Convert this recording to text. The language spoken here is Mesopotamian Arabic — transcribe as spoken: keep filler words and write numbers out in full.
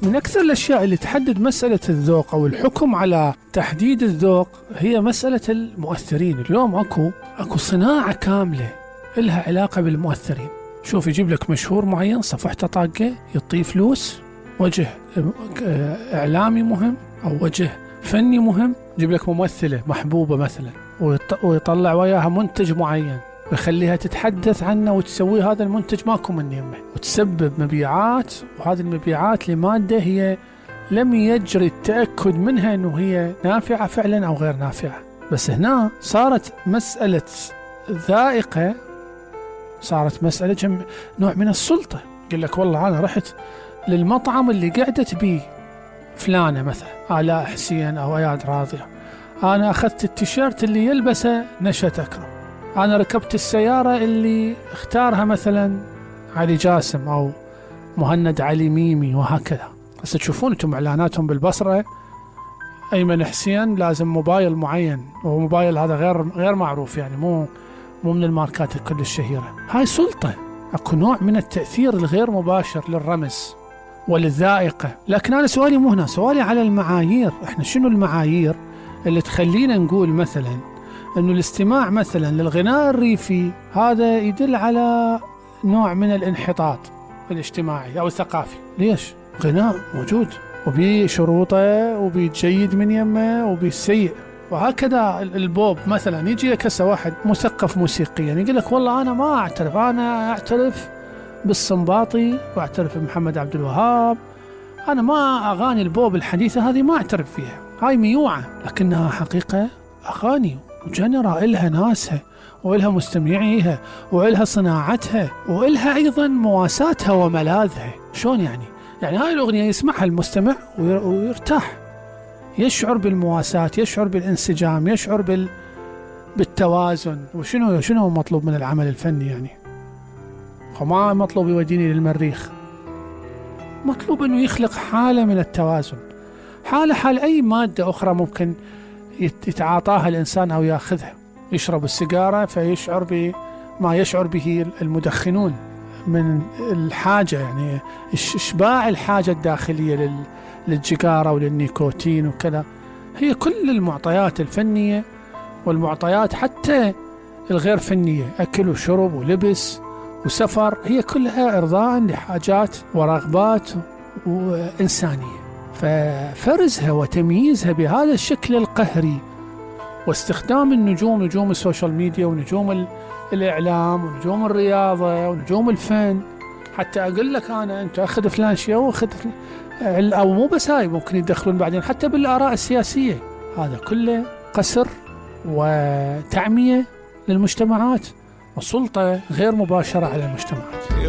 من أكثر الأشياء اللي تحدد مسألة الذوق أو الحكم على تحديد الذوق هي مسألة المؤثرين. اليوم أكو أكو صناعة كاملة إلها علاقة بالمؤثرين. شوف، يجيب لك مشهور معين صفحته طاقة، يعطيه فلوس، وجه إعلامي مهم أو وجه فني مهم، يجيب لك ممثلة محبوبة مثلا ويطلع وياها منتج معين ويخليها تتحدث عنه وتسوي هذا المنتج ماكو من يمه، وتسبب مبيعات، وهذه المبيعات لمادة هي لم يجري التأكد منها أنه هي نافعة فعلا أو غير نافعة. بس هنا صارت مسألة ذائقة، صارت مسألة جم... نوع من السلطة. يقول لك والله أنا رحت للمطعم اللي قعدت بيه فلانة مثلا آلاء حسين أو أياد راضية، أنا أخذت التيشيرت اللي يلبسه نشأت أكرم، أنا ركبت السيارة اللي اختارها مثلا علي جاسم أو مهند علي ميمي، وهكذا. بس تشوفون أنتم إعلاناتهم بالبصرة، أيمن حسين لازم موبايل معين، وموبايل هذا غير غير معروف، يعني مو مو من الماركات الكل الشهيرة. هاي سلطة، أكو نوع من التأثير الغير مباشر للرمز وللذائقة. لكن أنا سؤالي مو هنا، سؤالي على المعايير. إحنا شنو المعايير اللي تخلينا نقول مثلا أنه الاستماع مثلا للغناء الريفي هذا يدل على نوع من الانحطاط الاجتماعي أو الثقافي؟ ليش؟ غناء موجود وبشروطه وبيجيد من يمه وبيسيء، وهكذا البوب مثلا. يجي لك هسه واحد مثقف موسيقيا يقول لك والله أنا ما أعترف، أنا أعترف بالصنباطي وأعترف بمحمد عبد الوهاب، أنا ما أغاني البوب الحديثة هذه ما أعترف فيها، هاي ميوعة، لكنها حقيقة أغاني وجنرا إلها ناسها وإلها مستمعيها وإلها صناعتها وإلها أيضا مواساتها وملاذها. شلون يعني؟ يعني هاي الأغنية يسمعها المستمع ويرتاح، يشعر بالمواساة، يشعر بالانسجام، يشعر بال... بالتوازن. وشنو شنو مطلوب من العمل الفني يعني؟ وما مطلوب يوديني للمريخ، مطلوب أنه يخلق حالة من التوازن، حالة حال أي مادة أخرى ممكن يتعاطاها الإنسان أو يأخذها. يشرب السيجارة فيشعر بما يشعر به المدخنون من الحاجة، يعني إشباع الحاجة الداخلية للجيجارة وللنيكوتين وكذا. هي كل المعطيات الفنية والمعطيات حتى الغير فنية، أكل وشرب ولبس وسفر، هي كلها إرضاء لحاجات ورغبات وإنسانية. ففرزها وتمييزها بهذا الشكل القهري واستخدام النجوم، نجوم السوشيال ميديا ونجوم الإعلام ونجوم الرياضة ونجوم الفن، حتى أقول لك أنا أنت أخذ فلان شيء وأخذ أو مو بس هاي، ممكن يدخلون بعدين حتى بالآراء السياسية. هذا كله قسر وتعمية للمجتمعات وسلطة غير مباشرة على المجتمعات.